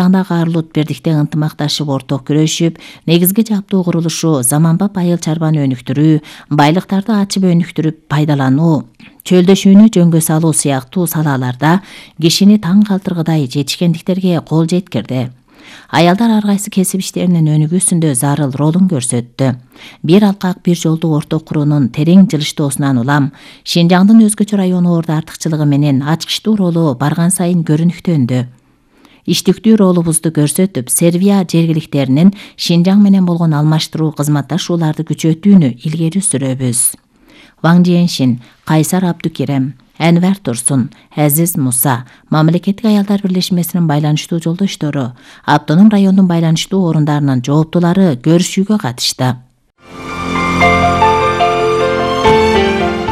Шинжаңдагы Арлут бирдикте ынтымакташып орток күрөшүп, негизги жаптуу курулушу заманбап айыл чарбаны өнүктүрүү, байлыктарды ачып өнүктүрүп пайдалануу, чөлдөшүүнү жөнгө салуу сыяктуу салаларда кишини таң калтыргыдай жетишкендиктерге кол жеткирди. Аялдар ар кайсы кесип иштеринин өнүгүүсүндө зарыл ролун көрсөттү. Бир алкак бир жолду орток куруунун терең жылыштоосунан улам Шинжаңдын өзгөчө районуларда артыкчылыгы менен ачкычтуу ролу барган сайын көрүнүктөндү. Иштиктүү ролубузду көрсөтүп, Сербия жергиликтеринин Шинжаң менен болгон алмаштыруу кызматташууларды күчөтүүнү илгери сүрөбүз. Ваң Жиеншин, Кайсар Абдукерем, Әнвар Турсун, Азиз Муса, Мамлекеттик аялдар бирлешмесинин байланыштуу жолдоштору, автоном райондун байланыштуу орундарынын жооптулары көрүшүүгө катышты.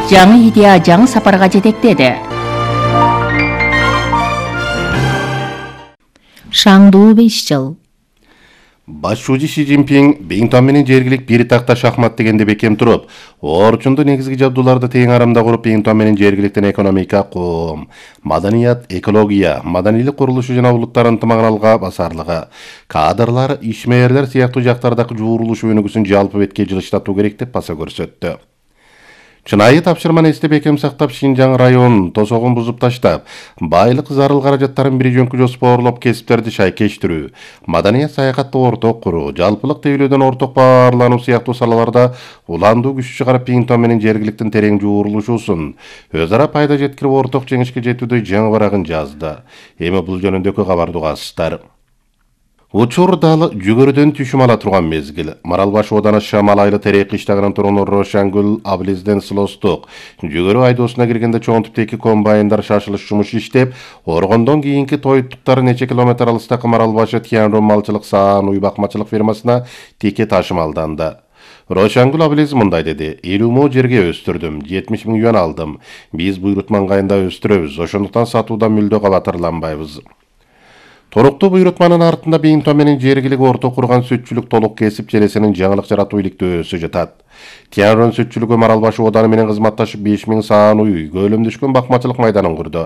Жаңы идея жаңы сапарга жетектеди. Шаңдуу 5 жыл. Башчы Ши Цзиньпин Бейнтон менен жергилик бир такта шахмат дегенде бекем туруп, орчунду негизги жабдууларды тең арамда куруп, Бейнтон менен жергиликтен экономика, коом, маданият, экология, маданийлик курулушу жана улуттар ынтымагын алга басарлыгы, кадрлар, ишмерлер сыяктуу жактардагы жуурулуш өнүгүүсүн жалпы бетке жылыштатуу керек деп баса көрсөттү. Чынайы тапшырманы эстеп бекем сактап, Шинжаң районун тосогун бузуп таштап, байлык зарыл каражаттарын бир жөнкү жоспарлоп, кесиптерди шайкештирүү, маданият саякатты орток куруу, жалпылык тейлөөдөн орток баарлануу сыяктуу салаларда уландуу күч чыгарып, Бейнтон менен жергиликтин терең жуурулушуусун өз ара пайда жеткирип орток жеңишке жетүүдө жаңы барагын жазды. Эми бул жөнүндөгү кабарды угасыздар. Учур дал жүгөрүдөн түшүм ала турган мезгил. Маралбаш ооданы Шамалайлы терек кыштагынан турган Рошангүл Аблизден Слостук жүгөрү айдоосуна киргенде чоң типтеги комбайндар шашылыш жумуш иштеп, оргондон кийинки тоюттуктары нече километр алыстагы Маралбашы Тиянрон малчылык саан уй бакмачылык фирмасына тике ташымалданды. Рошангүл Аблиз мындай деди: 50 мо жерге өстүрдүм, 70 000 юан алдым. Биз буйрут маңгайында өстүрөбүз, ошондуктан сатуудан мүлдө кабатырланбайбыз. Торуктуу буйрутманын артында Бейнтон менен жергилик орток курган сүтчүлүк толук кесип желесинин жаңылык жаратуу иликтөөсү жатат. Тиянрон сүтчүлүгү Маралбаш ооданы менен кызматташып 5000 саан уй көлөмдөшкөн бакмачылык майданын курду.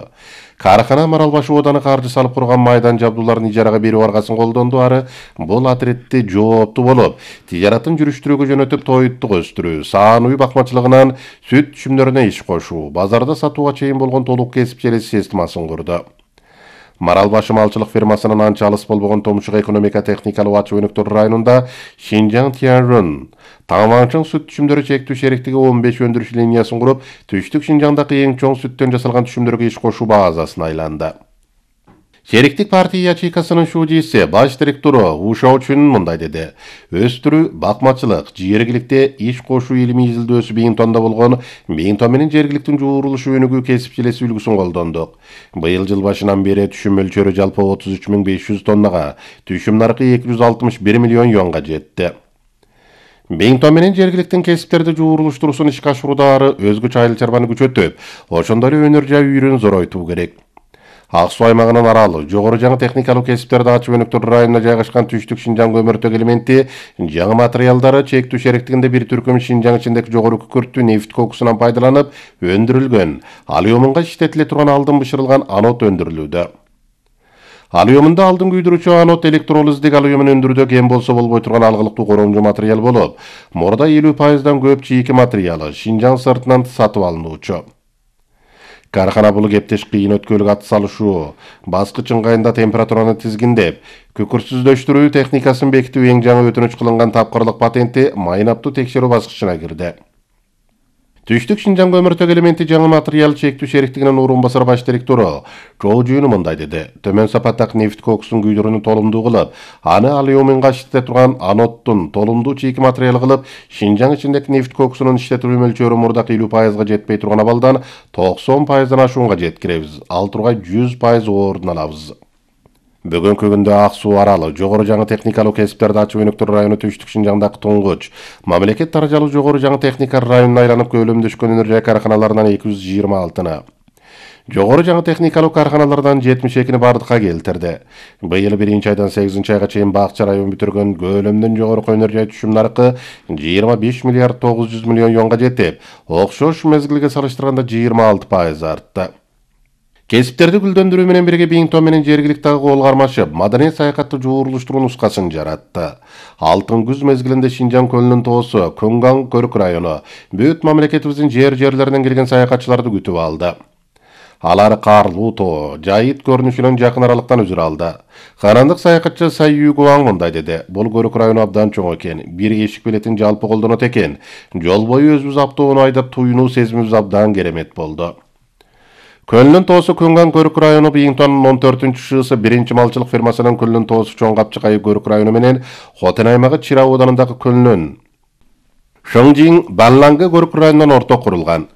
Кааркана Маралбаш ооданы каржы салып курган майдан жабдууларын ижарага берүү аргасын колдонду. Ары бул отретти жооптуу болуп, тижаратын жүрүштүрүүгө жөнөтүп, тоюттук өстүрүү, саан уй бакмачылыгынан сүт түшүмдөрүнө иш кошуу, базарда сатууга чейин болгон толук кесип желеси системасын курду. Маралбашы малчылык фирмасынын анча алыс болбогон Томшук экономика техникалык ачуу өнүктүрүү районунда Шинжаң Тиянрон Таңмаңчың сүт түшүмдөрү чектүү шериктиги 15 өндүрүш линиясын куруп, Түштүк Шинжаңдагы эң чоң сүттөн жасалган түшүмдөргө иш кошуу базасын айланды. Шериктик партия ячейкасынын шуудиси, баш директору Ушоучун мындай деди: өстүрүү, бакмачылык, жергиликте иш кошуу илимий изилдөөсү Бейнтондо болгон Бейнтон менен жергиликтин жуурулушу өнүгүү кесип желеси үлгүсүн колдондук. Быйыл жыл башынан бери түшүм мөлчөрү жалпы 33 500 тоннага, түшүм наркы 261 миллион юанга жетти. Бейнтон менен жергиликтин кесиптерди жуурулуштуруусун ишке ашырууда ары өзгөчө айыл чарбаны күчөтүп, ошондой эле өнөр жай үйрөн зоройтуу керек. Ак суу аймагынын аралы, жогору жаңы техникалык кесиптерди ачып өнүктүрүү районуна жайгашкан Түштүк Шинжаң көмөртөк элементи жаңы материалдары чектүү шериктигинде бир түркүм Шинжаң ичиндеги жогору күкүрттүү нефть кокусунан пайдаланып өндүрүлгөн, алюминга иштетиле турган алдын бышырылган анод өндүрүлүүдө. Алюминда алдын күйдүрүүчү анод электролиздик алюмин өндүрүүдө кем болсо болбой турган алгылыктуу коромжу материал болуп, мурда 50%дан көп чийки материалы Шинжаң сыртынан сатып алынуучу. Кааркана бул кептеш кыйын өткөлүк ат салышуу, баскыч ыңгайында температураны тизгиндеп, күкүртсүздөштүрүү техникасын бекитүү эң жаңы өтүнүч кылынган тапкырлык патенти майнаптуу текшерүү баскычына кирди. Түштүк Шинжаң көмөртөк элементи жаңы материал чектүү шериктигинин орун басар баш директору Чоо Жүйүнү мындай деди: төмөн сапаттагы нефть кокусун күйдүрүүнү толумдуу кылып, аны алюминга иштете турган аноддун толумдуу чийки материал кылып, Шинжаң ичиндеги нефть кокусунун иштетилүү мөлчөрү мурдакы 50%га жетпей турган абалдан 90%дан ашуунга жеткиребиз. Ал тургай 100% ордун алабыз. Бүгүнкү күндө ак суу аралы, жогору жаңы техникалык кесиптерди ачып өнүктүрүү району Түштүк Шинжаңдагы туңгуч, мамлекет даражалуу жогору жаңы техника районуна айланып көлөмдөшкөн өнөр жай каарканаларынан 226-ны, жогору жаңы техникалык каарканалардан 72-ни бардыкка келтирди. Быйыл 1-айдан 8-айга чейин Бакча район бүтүргөн көлөмдөн жогорку өнөр жай түшүм наркы 25 миллиард 900 миллион юанга жетип, окшош мезгилге салыштырганда 26% артты. Кесиптерди гүлдөндүрүү менен бирге Биңтон менен жергиликтеги кол кармашып, маданий саякатты жуурулуштуруу нускасын жаратты. Алтын күз мезгилинде Шинжаң көлүнүн тоосу, Көңган Көрүк району бүт мамлекетибиздин жерлеринен келген саякатчыларды күтүп алды. Алар карлуу тоо, жайыт көрүнүшүнөн жакын аралыктан үзүр алды. Карандык саякатчы Сайю Гуаң мындай деди: "Бул Көрүк району абдан чоң экен, бир эшик билетин жалпы колдонот экен. Жол бою өзүбүз автоунаа айдап туюнуу сезимибиз абдан керемет болду." Көлүнүн тоосу Көңган Көрүк району Биңтондун 14-шысы биринчи малчылык фермасынын көлүнүн тоосу Чоң Капчыкай Көрүк району менен Хотен аймагы Чира ауданындагы көлүнүн Шоңжиң Баллангы Көрүк районунан орток курулган.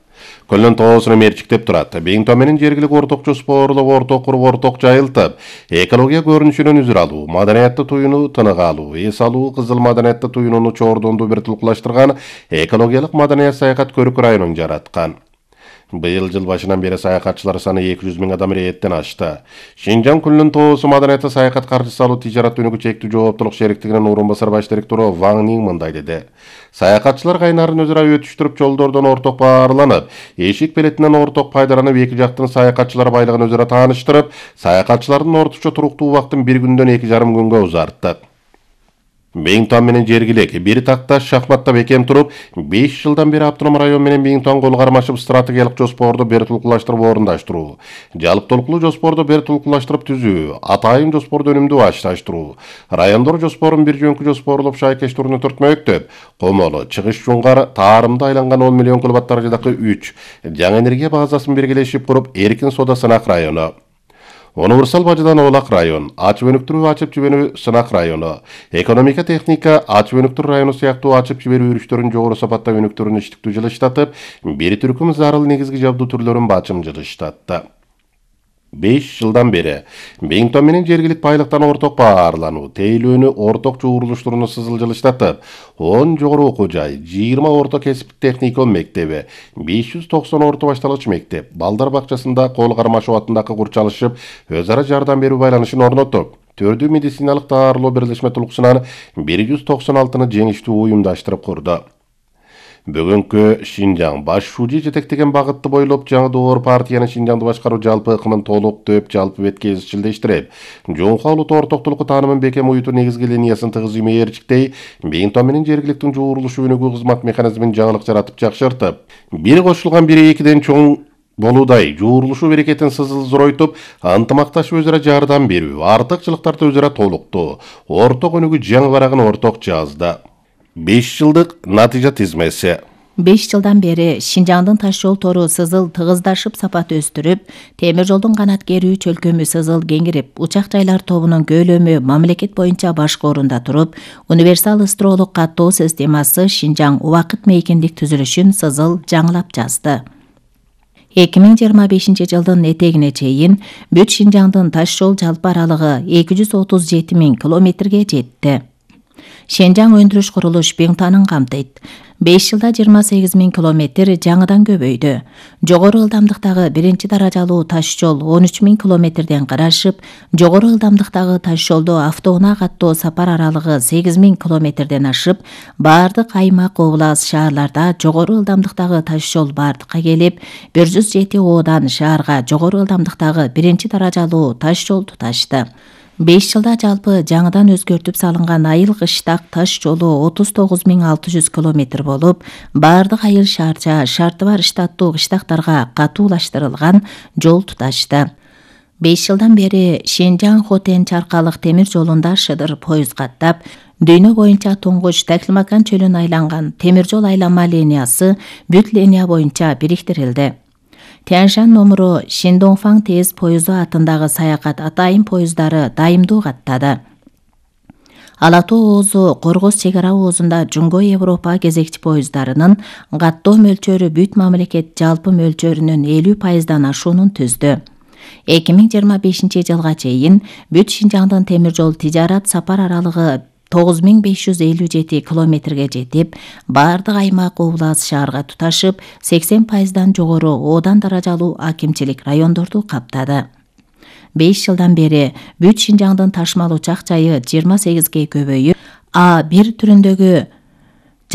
Көлүнүн тоосуну мерчиктеп турат. Биңтон менен жергилик орток жоспорлук орток куруп, орток жайылтып, экология көрүнүшүнөн үзүр алуу, маданиятты туюнуу тынык алуу, эс алуу, кызыл маданиятты туюнууну чордонду бир тулкулаштырган экологиялык маданият саякат Көрүк районун жараткан. Быйыл жыл башынан бери саякатчылар саны 200 000 адам рээттен ашты. Шинжаң көлүнүн тоосу маданиятты саякат каржысы алуу тижарат өнүгүү чектүү жооптулук шериктигинин орун басар баш директору Ваң Нин мындай деди: "Саякатчылар кайнарын өзүрө өтүштүрүп, жолдордон орток баарланып, эшик билетинен орток пайдаланып, эки жактын саякатчылар байлыгын өзүрө тааныштырып, саякатчылардын орточо туруктуу убактын 1 күндөн 2,5 күнгө узарттык." Биңтон менен жергилик бир такташ шахматта бекем туруп, 5 жылдан бери автоном район менен Биңтон кол кармашып стратегиялык жоспорду бир тулкулаштырып орундаштыруу, жалпытолкулуу жоспорду бир тулкулаштырып түзүү, атайын жоспорду өнүмдүү башташтыруу, райондор жоспорун бир жөнкү жоспорлоп шайкеш турну төртмөктөп, Комолу, Чыгыш Жуңгар, Таарымда айланган 10 миллион киловатт даражадагы 3 жаңы энергия базасын биргелешип куруп, Эркин Сода сынак району, Универсал бажадан Олак район, ачып өнүктүрүү ачып жиберүү сынак району, экономика техника ачып өнүктүрүү району сыяктуу ачып жиберүү үрүштөрүн жогору сапатта өнүктүрүүнү иштиктүү жылыштатып, бир түркүм зарыл негизги жабдуу түрлөрүн бачым жылыштатты. 5 жылдан бери Биңтон менен жергилик байлыктан орток баарлануу, тейлөөнү орток жуурулуштурууну сызыл жылыштатып, 10 жогору окуу жай, 20 орто кесиптик техникум мектеби, 590 орто башталгыч мектеп, балдар бакчасында кол кармашып атындагы курчалышып, өз ара жардам берүү байланышын орноттук. Төрдүү медициналык даарылоо бирлешме тулкусунан 196-ны жеңиштүү уюмдаштырып курду. Бүгүнкү Шинжаң баш шужи жетектеген багытты бойлоп жаңы доор партиянын Шинжаңды башкаруу жалпы ыкымын толук төп жалпы бетке изчилдештирип, Жоңхо улуттуу ортоктулуку таанымын бекем уютуу негизги линиясын тыгыз мээрчиктей, Биңтон менен жергиликтин жуурулушу өнүгүү кызмат механизмин жаңылык жаратып жакшыртып, бир кошулган бири экиден чоң болуудай жуурулушу берекетин сызыл зоройтуп, ынтымакташып өзара жардам берүү, артыкчылыктарды өзара толуктоо, орток өнүгүү жаңы барагын орток жазды. 5 жылдык натыйжа тизмеси. 5 жылдан бери Шинжаңдын таш жол тору сызыл тыгыздашып сапат өстүрүп, темир жолдун канат керүү чөлкөмү сызыл кеңирип, учак жайлар тобунун көлөмү мамлекет боюнча башкы орунда туруп, универсал ыстыроолук каттоо системасы Шинжаң убакыт мейкиндик түзүлүшүн сызыл жаңылап жазды. 2025 жылдын этегине чейин бүт Шинжаңдын таш жол жалпы аралыгы 237 000 километрге жетти. Шинжаң өндүрүш курулуш Биңтонун камтыйт. 5 жылда 28 000 километр жаңыдан көбөйдү. Жогору ылдамдыктагы биринчи даражалуу таш жол 13 000 километрден карашып, жогору ылдамдыктагы таш жолдо автоунаа каттоо сапар аралыгы 8 000 километрден ашып, баардык аймак, облас, шаарларда жогору ылдамдыктагы таш жол бардыкка келип, 107 оодан шаарга жогору ылдамдыктагы биринчи даражалуу таш жол туташты. 5 жылда жалпы жаңыдан өзгөртүп салынган айыл кыштак таш жолу 39 600 километр болуп, бардык айыл шаарча, шарты бар штаттуу кыштактарга катуулаштырылган жол туташты. 5 жылдан бери Шинжаң Хотен Чаркалык темир жолунда шыдыр поезд каттап, дүйнө боюнча туңгуч Таклимакан чөлүн айланган темир жол айланма линиясы бүт линия боюнча бириктирилди. Тяньшань номуру Шиндоңфаң тез поезду атындагы саякат атайын поезддары дайымдуу каттады. Ала Тоо оозу Коргоз чек ара оозунда Жуңго Европа кезекчи поезддарынын каттоо мөлчөрү бүт мамлекет жалпы мөлчөрүнүн 50% ашуунун түздү. 2025 жылга чейин бүт Шинжаңдын темир жол тижарат сапар аралыгы 9557 километрге жетип, бардык аймак, облас, шаарга туташып, 80% жогору оодан даражалуу акимчилик райондорду каптады. 5 жылдан бери бүт Шинжаңдын ташмал учак жайы 28ге көбөйүп, А1 түрүндөгү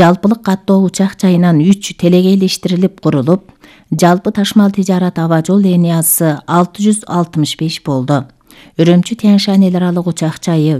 жалпылык каттоо учак жайынан 3 телегейлештирилип курулуп, жалпы ташмал тижарат аба жол линиясы 665 болду. Үрөмчү Тянь-Шань эл аралык учак жайы